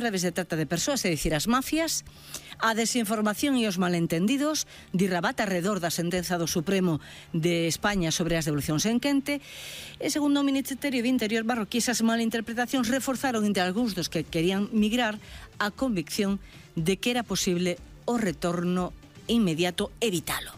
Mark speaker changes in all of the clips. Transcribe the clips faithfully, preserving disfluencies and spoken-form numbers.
Speaker 1: redes de trata de persoas, é dicir, as mafias, a desinformación e os malentendidos, dirabata alrededor da sentenza do Supremo de España sobre as devolucións en quente, e segundo o Ministerio de Interior marroquí, esas malinterpretacións reforzaron entre algúns dos que querían migrar a convicción de que era posible o retorno inmediato evitalo.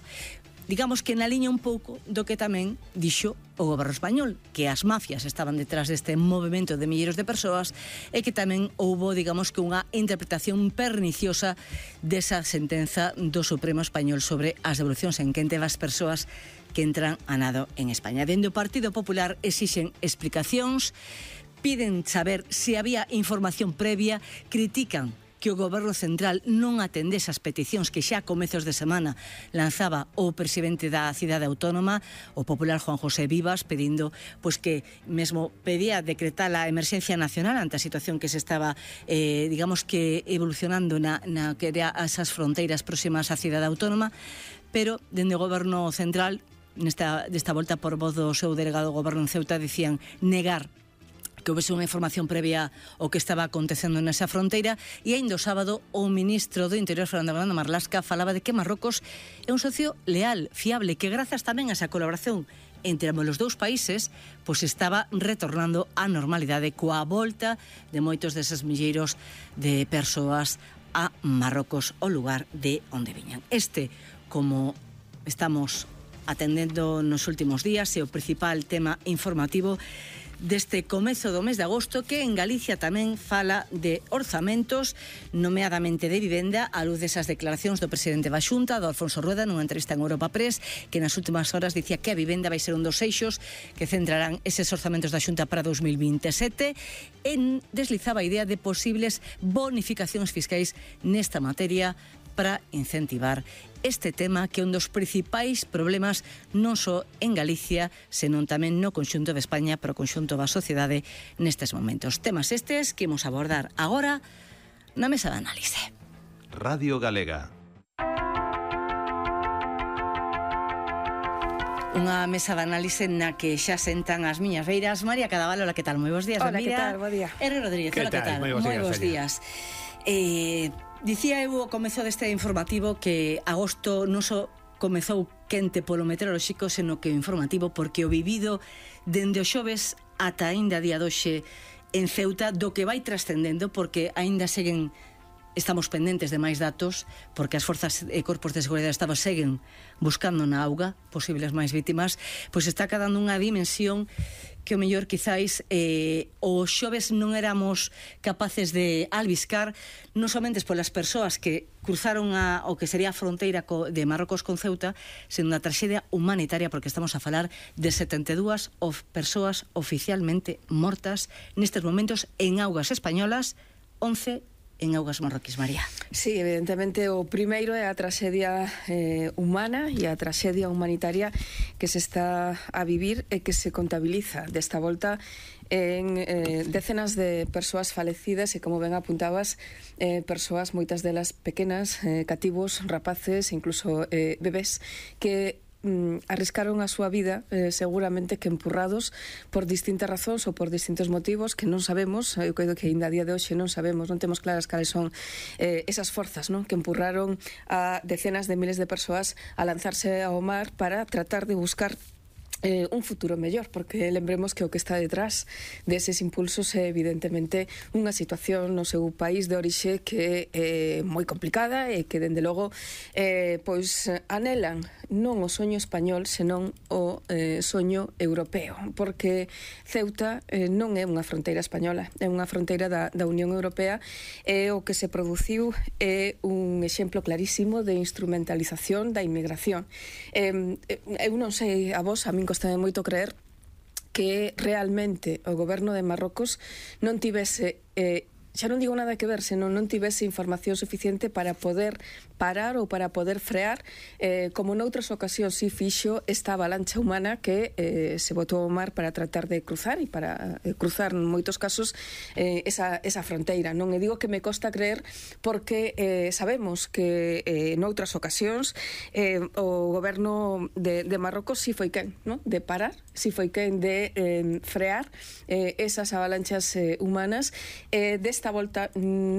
Speaker 1: Digamos que na liña un pouco do que tamén dixo o goberno español, que as mafias estaban detrás deste movimento de milleiros de persoas e que tamén houbo, digamos, que unha interpretación perniciosa desa sentenza do Supremo Español sobre as devolucións en quente das persoas que entran a nado en España. Dende o Partido Popular exixen explicacións, piden saber se había información previa, critican que o Goberno Central non atendese as peticións que xa a comezos de semana lanzaba o presidente da cidade autónoma, o popular Juan José Vivas, pedindo pois que mesmo pedía decretar a emerxencia nacional ante a situación que se estaba, eh, digamos que evolucionando na, na que era esas fronteiras próximas á cidade autónoma, pero dende o Goberno Central, nesta, desta volta por voz do seu delegado do Goberno en Ceuta, dicían negar que houvese unha información previa ao que estaba acontecendo nesa fronteira, e ainda o sábado o ministro do Interior, Fernando Grande Marlaska, falaba de que Marrocos é un socio leal, fiable, que grazas tamén a esa colaboración entre os dous países, pois estaba retornando á normalidade coa volta de moitos deses milleiros de persoas a Marrocos, o lugar de onde viñan. Este, como estamos atendendo nos últimos días, é o principal tema informativo deste comezo do mes de agosto, que en Galicia tamén fala de orzamentos, nomeadamente de vivenda, a luz desas declaracións do presidente da Xunta, do Alfonso Rueda, nunha entrevista en Europa Press, que nas últimas horas dicía que a vivenda vai ser un dos eixos que centrarán eses orzamentos da Xunta para dos mil veintesete, en deslizaba a idea de posibles bonificacións fiscais nesta materia para incentivar este tema, que é un dos principais problemas non só en Galicia, senón tamén no conxunto de España, pero o conxunto da sociedade nestes momentos. Temas estes que imos abordar agora na mesa de análise.
Speaker 2: Radio Galega.
Speaker 1: Unha mesa de análise na que xa sentan as miñas beiras María Cadaval. Hola, que tal? Moi bons días.
Speaker 3: Hola,
Speaker 1: Mira,
Speaker 3: que tal? Bo día.
Speaker 1: R. Rodríguez, hola, que tal?
Speaker 4: Moi bons días.
Speaker 1: Moi bons días. Eh, dicía eu ao comezo deste informativo que agosto non só comezou quente polo meteorolóxico, senón que o informativo, porque o vivido dende o xoves ata aínda día doxe en Ceuta, do que vai trascendendo, porque aínda seguen, estamos pendentes de máis datos, porque as forzas e corpos de seguridade do Estado seguen buscando na auga posibles máis vítimas, pois está quedando unha dimensión que o mellor quizáis eh, o xoves non éramos capaces de albiscar, non somente polas persoas que cruzaron a, o que sería a fronteira co, de Marrocos con Ceuta, sendo unha traxedia humanitaria, porque estamos a falar de setenta e dúas of, persoas oficialmente mortas nestes momentos en augas españolas, once en augas marroquís, María.
Speaker 3: Sí, evidentemente o primeiro é a traxedia eh, humana e a traxedia humanitaria que se está a vivir e que se contabiliza desta volta en eh, decenas de persoas falecidas e, como ben apuntabas, eh, persoas, moitas delas pequenas, eh, cativos, rapaces, incluso eh, bebés, que Mm, arriscaron a súa vida eh, seguramente que empurrados por distintas razóns ou por distintos motivos que non sabemos. Eu creo que ainda a día de hoxe non sabemos, non temos claras cales son eh, esas forzas, non, que empurraron a decenas de miles de persoas a lanzarse ao mar para tratar de buscar Eh, un futuro mellor, porque lembremos que o que está detrás deses impulsos é evidentemente unha situación no seu país de orixe que é moi complicada e que dende logo eh, pois anelan non o soño español, senón o eh, soño europeo, porque Ceuta eh, non é unha fronteira española, é unha fronteira da, da Unión Europea, e o que se produciu é un exemplo clarísimo de instrumentalización da inmigración. Eh, eu non sei a vos, a min costame moito creer que realmente o goberno de Marrocos non tivese eh, xa non digo nada que ver, senón non tivese información suficiente para poder parar ou para poder frear, eh, como noutras ocasións si fixo esta avalancha humana que eh, se botou ao mar para tratar de cruzar e para eh, cruzar en moitos casos eh, esa, esa fronteira. Non e digo que me costa creer porque eh, sabemos que eh, noutras ocasións eh, o goberno de, de Marrocos si foi quen, ¿no?, de parar, si foi quen de eh, frear eh, esas avalanchas eh, humanas. eh, desta volta